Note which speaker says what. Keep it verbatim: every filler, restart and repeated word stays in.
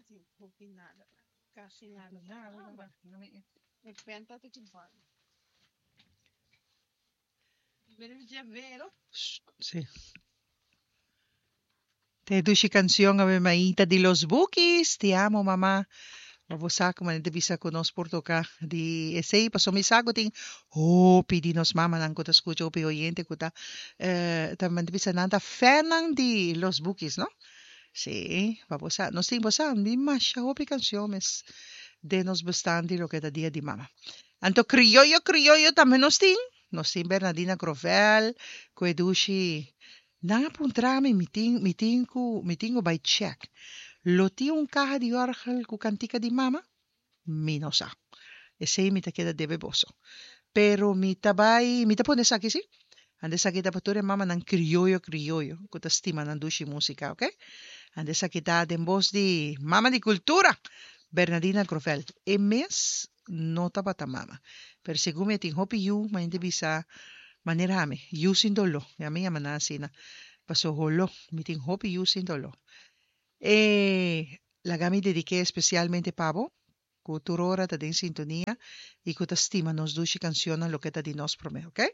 Speaker 1: Tin hopi nada. Kasi nada.
Speaker 2: Nada.
Speaker 1: Mi penta te chupando. Vero?
Speaker 2: Sí. Te dushi canción Ave Maita di Los Bukis. Te amo, mama. Ma bo sa ku manera bisa ku nos por toka di esei, paso mi sa ku tin hopi di nos mamanan ku ta skucha, hopi oyente ku ta eh, ta manera bisa nan ta fannan di Los Bukis, no? Sí, pa bo sa, nos tin, bo sa, mi masha hopi kanshon mes den nos bestand di loke ta Dia di Mama. Anto krioyo krioyo tambe nos tin, nos tin Bernadina Grovel ku e dushi. Nan a puntra mi, mi tin mi tin ku mi tin ku bai chèk. Lo tin un kaha di òrgel ku kantika di mama? Mi no sa. Esei mi ta keda debe boso. Pero mi ta bai, mi ta pone esaki si. Anda esaki ta pa tur e mamanan krioyo krioyo ku ta stima nan dushi músika, oke? Anda esaki ta den bos di Mama di Kultura, Bernadina Grovel. E mes no tabata mama, pero segun mi e tin hopi yu, ma hende bisa manera ami, yu sin doló. I ami yama nan asina, paso holó, mi tin hopi yu sin doló. E laga mi dedik'é espesialmente pa bo, ku tur ora ta den sintonia i ku ta stima nos dushi kanshonnan loke ta di nos promé, oke?